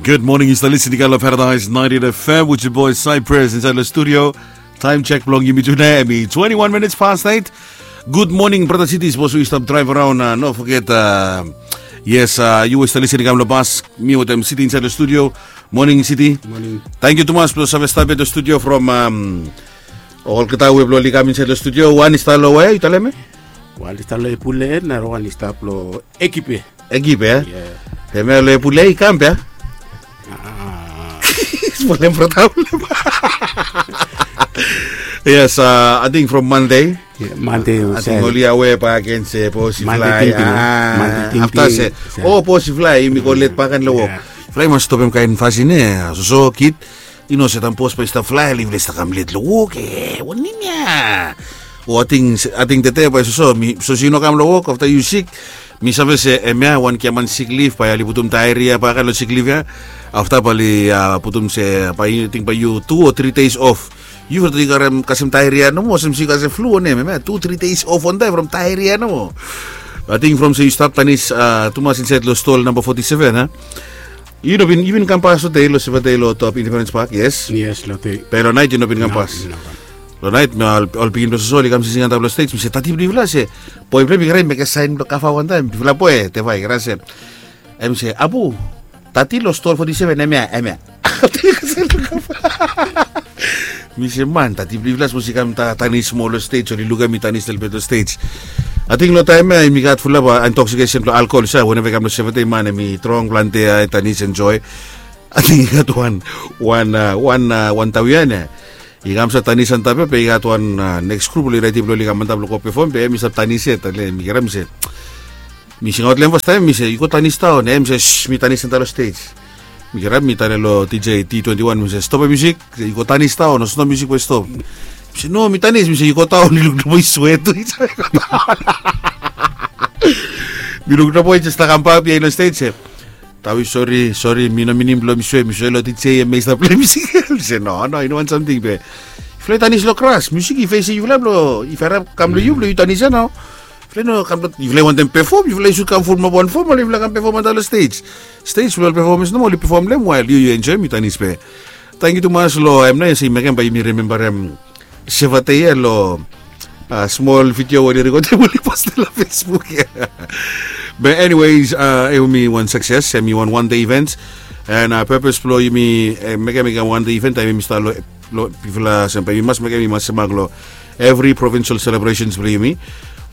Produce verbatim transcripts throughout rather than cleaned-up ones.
Good morning, yu stap listening lo Paradise ninety-eight F M with your boy Cypress inside the studio. Time check blong yumi today, hemi twenty-one minutes past eight. Good morning, brother City, sapos yu stap drive around, uh, no forget, uh, yes, uh, yu stap listening kam lo bas, mi wetem City inside the studio. Morning, City. Morning. Thank you tumas blo save stap at the studio from, um, olgeta we blo oli kam inside the studio. Wan i stap lo we, yu talem? Wan i stap lo Epule, nara wan i stap lo Ekipe. Ekipe, eh? Yeah. Hemia lo Epule i kam be, eh? Ah. Problem, problem. Yes, uh, I think from Monday. Yeah, Monday, I think oli awe bak agen se bos i fly. Monday tingting, ah, Monday tingting. Afta se, oh, bos i fly, yumi go let bak agen lo wok. Yeah. Fly mas stopem kaen fasin, eh? Soso kid, yu no se taem bos bae i stap fly, oli fly stap kam let lo wok, eh? Wanem ya? O ating, ating tede bae soso, mi, soso yu no kam lo wok, afta yu sik, mi save se, hemia, wan giaman sick leave, bae oli putum diarrhea bak agen lo sick leave ya. Afta bae oli, ah, putum se, bae yu ting bae yu two o three days off. Yu fo ting karem kasem diarrhea nomo, olsem se yu kasem flu wanem, hemia, two, three days off wantaem from diarrhea nomo. Ating from se yu stap tanis, ah, tumas insaed lo stol namba forty-seven, ah? Yu no bin, yu bin kam pas lo tede lo Seventde lo top Independence Park, yes? Yes, lo tede. Be lo naet yu no bin kam pas. No, no, no. Lo naet, mi ol, ol pikinini blo soso oli kam sising antap lo stage, mi se, "Tati blong yufala," se, boe blong hem i krai mekem saen blo kava wantaem, bifala boe, teva i krai se, hem i se, "Abu, tati lo stol forty-seven, hemia, hemia." Mi se, "Man, tati blong yufala sapos i kam ta-, tanis moa lo stage, oli lukem mi tanis lelebet lo stage." Ating lo taem ya, hemi gat fulap, ah, intoxication blo alcohol, sa, weneva i kam lo Seventde, man, hemi drong plante, ah, tanis, enjoy. Ating i gat wan, wan, ah, wan, ah, wan tao ya, ne? I kam sa tanis antap ya, be i gat wan, ah, next group oli redi blo oli kam antap blo go perform, be hemi stap tanis yet, ale, mi kere mi se, mi singaot lo hem fastaem, mi se, "Yu go tanis daon," hem i se, "Shh, mi tanis antap lo stage." Mi kere mi talem lo D J T twenty-one, mi se, "Stopem musik, yu go tanis daon, olsem no musik bae i stop." Mi se, "No, mi tanis," mi se, "Yu go daon," i luk lo boe i swet tu. Mi luk lo boe i jes stap kam bak biaen lo stage, se, "Tawi, sori, sori, mi no minim blo mi swe, mi swe lo D J hemia i stap plei musik." Mi se, "No, no, i no wan samting be. Yufala i tanis lo gras, musik i fesem yufala blo, i fara kam lo yu blo yu tanis ya nao. Yufala i no kam blo, yufala i wantem perform, yufala i sud kam fulumap wan fom, ale yufala kam perform antap lo stage. Stage blo ol performers nomo, oli perform lo hem, wael yu, yu enjoem, yu tanis be." Tangkiu tumas lo hem nao, se i mekem bae yumi rimembarem Seventde ya lo, ah, smol video we oli rekodem oli postem lo Facebook ya. Be anyways, ah, hemi wan success, hemi wan one day event. And, ah, purpose blo yumi, eh, mekem i kam one day event, taem yumi stap lo, lo, bifala olsem bae yumi mas mekem, yumi mas semak lo every provincial celebrations blo yumi.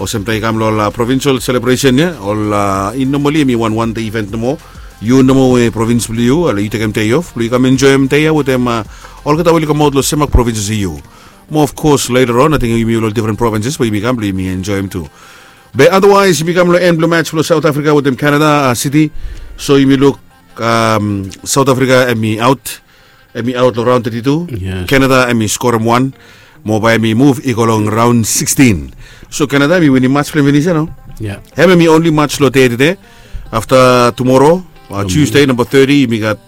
Olsem taem i kam lo ol, ah, provincial celebration ya, ol, ah, i normally hemi wan one day event nomo. Yu nomo we province blo yu, ale yu tekem day off blo yu kam enjoem day ya wetem, ah, olgeta we oli kamaot lo semak provinces i yu. Mo of course later on, ating yumi ol different provinces we yumi kam blo yumi enjoem tu. Be otherwise, yumi kam lo en blo match blo South Africa wetem Canada, ah, City. So yumi luk, um, South Africa hemi aot, hemi aot lo raon thirty-two. Yes. Canada hemi skorem wan. Mo bae hemi muv i go lo raon sixteen. So Canada hemi winim match blo hem finis ya nao. Yeah. Hem hemi only match lo dei tede. Afta tumoro, ah, Tuesday, namba thirty, yumi gat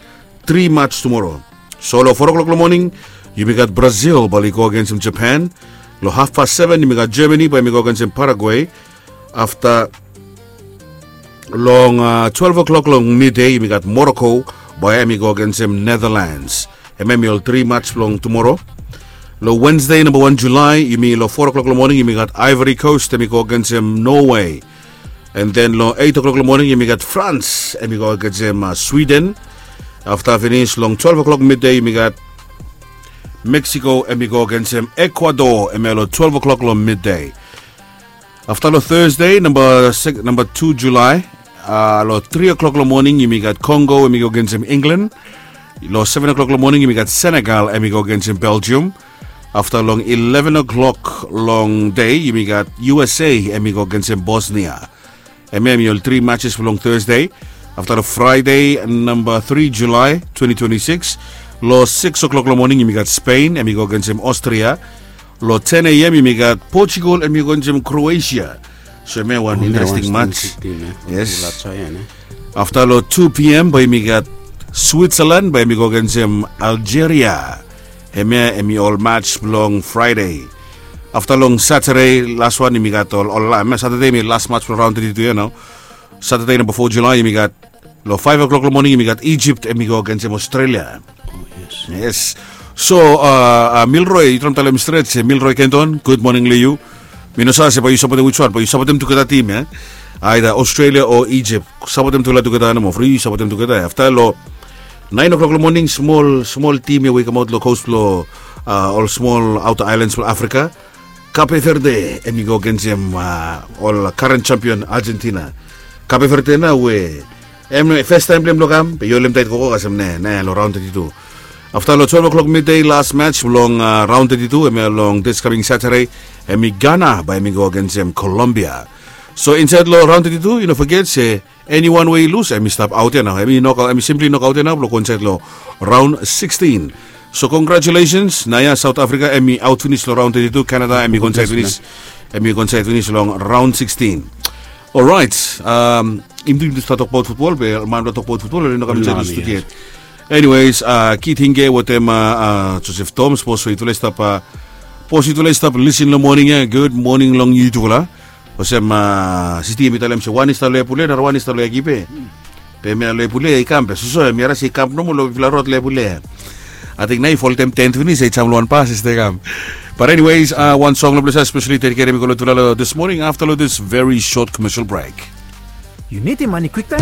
tri match tumoro. So lo four o'clock lo moning, yumi gat Brazil bae oli go agensem Japan. Lo hafpas seven, yumi gat Germany bae hemi go agensem Paraguay. Afta long, ah, twelve o'clock long midei, yumi gat Morocco bae hemi go agensem Netherlands. Hemia hemi ol tri match blong tumoro. Lo Wednesday, namba wan Julai, yumi lo four o'clock lo moning, yumi gat Ivory Coast hemi go agensem Norway. And then lo eight o'clock lo moning, yumi gat France hemi go agensem, ah, Sweden. Afta finis long twelve o'clock midei, yumi gat Mexico hemi go agensem Ecuador, hemia lo twelve o'clock lo midei. Afta lo Thursday, namba six, namba tu Julai, ah, lo three o'clock lo moning, yumi gat Congo hemi go agensem England. Lo seven o'clock lo moning, yumi gat Senegal hemi go agensem Belgium. Afta long eleven o'clock long dei, yumi gat U S A hemi go agensem Bosnia. Hemia hemi ol tri matches blong Thursday. Afta lo Friday, namba three Julai twenty twenty-six, lo six o'clock lo moning, yumi gat Spain hemi go agensem Austria. Lo ten A M yumi gat Portugal hemi go agensem Croatia. So hemia wan interesting match. Yes. Afta lo two P M bae yumi gat Switzerland bae hemi go agensem Algeria. Hemia hemi ol match blong Friday. Afta long Saturday, las wan, yumi gat ol, ol, hemia Saturday hemi las match blong raon thirty-two ya nao. Saturday, namba four Julai, yumi gat Long five o'clock long moning yumi gat Egypt em i go agensem Australia. Yes. So, Milroy, yu traem talem stret se Milroy Kenton, gud moning long yu. Mi no save se bae yu sapotem wiswan, bae yu sapotem tugeta tim ya, aida Australia o Egypt. Sapotem tugeta, tugeta nomo, fri yu sapotem tugeta ya. Afta long naen o'clock long moning, smol smol tim ya we i kamaot long kos blong ol smol aota aelan blong Afrika. Kape Verde em i go agensem ol karen sampion Argentina. Kape Verde nao we em festaem blong hem blong kam, be yu holem taet gogo kasem ne ne long raon teti tu. Afta long twelve o'clock midei las mats blong raon teti tu em ya long dis kaming Satade, em i Gana bae em i go agensem Kolombia. So insaed long raon teti tu yu no foget se eniwan we i lus em i stap aot ya nao, em i simpli nokaot ya nao blong go insaed long raon sikstin. So congratulations, naoia Saot Afrika em i aot finis long raon teti tu, Kanada em i go insaed finis, em i go insaed finis long raon sikstin. Oraet. Yumi tu yumi tu stap tokbaot futbol be man blong tokbaot futbol oli no kam insaed long studio yet. Anyways, Kit Hinge wetem Josef Tom, sapos we yutufala i stap, sapos yutufala i stap lisin long moning ya, gud moning long yutufala. Olsem Siti em i talem se wan i stap long Epule, narawan i stap long Ekipe. Be em ya long Epule ya i kam be soso em ya rasi i kam nomo long bigfala rod long Epule ya. Ating nao i foltem tent finis ya i jam long wan bas i stap kam. But anyways, wan song long ples ya spesali dediketem i go long yutufala long this morning afta long this very short commercial break. Yu nidim mane kwiktaem?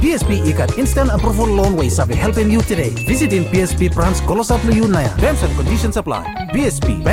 BSP i gat instant approval loan we i save helpem yu tede. Visitim BSP brans klosap long yu naoia. Terms and conditions apply. BSP Bank.